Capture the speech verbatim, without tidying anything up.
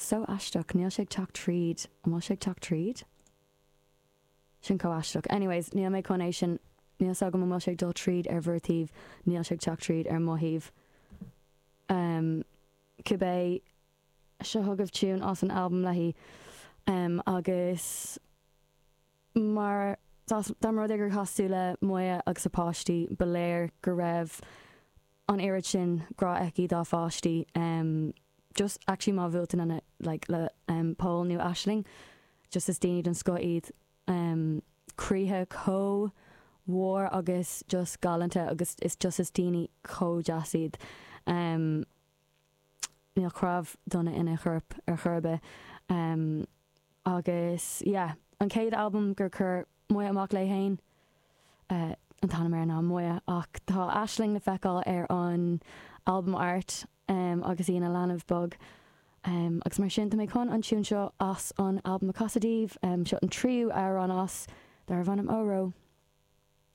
So aisteach, níl sé ag teacht tríd. An bhfuil sé ag teacht tríd? Sin chomh aisteach. Anyways, níl mé chun é sin níl a fhios agam an bhfuil sé ag dul tríd ar bhur taobh, níl sé ag teacht tríd ar mo thaobh. Um, cibé seo chugaibh tune as an albam léi um, agus mar dá mba rud é gur chas tú le Moya agus a páistí ba léir go raibh an oiread sin grá aici dá pháistí um, just actually má bhuail an like, le um, Paul nó Aisling just is daoine den scoth iad um, croíthe chomh mór agus just galánta agus is just is daoine chomh deas iad. Um, níl cnámh dona ina chorp ar chor ar bith. Um, agus yeah, an chéad albam gur chuir Moya amach léi féin uh, an t-ainm air ná Moya ach tá Aisling le feiceáil ar an album art um, agus í ina leanbh beag. Um, agus mar sin tá mé chun an tune seo as an album a chasadh daoibh um, seo an tríú amhrán as darb ainm Óró.